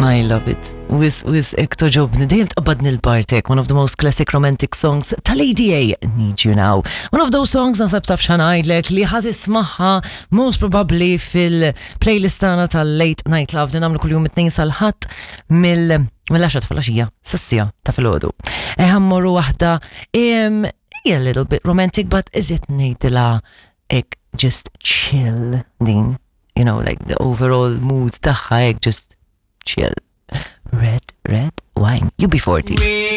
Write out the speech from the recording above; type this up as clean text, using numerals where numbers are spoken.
I love it. Wis, wis, ek toġobni, dejjem tqabbadni l-partek, one of the most classic romantic songs tal-ADA, Need You Now. One of those songs naħseb taf xanajdlek li ħad ismaħħa most probably fil-playlist tagħna tal-Late Night Love li nagħmlu kuljum it-tnejn sal-ħadd mill mill-10 ta' filgħaxija sas-siegħa ta' filgħodu. Eħa mmorru waħda a little bit romantic but is it ngħidilha ek just chill din you know, like the overall mood tagħha hekk just chill. Red, red wine. UB40.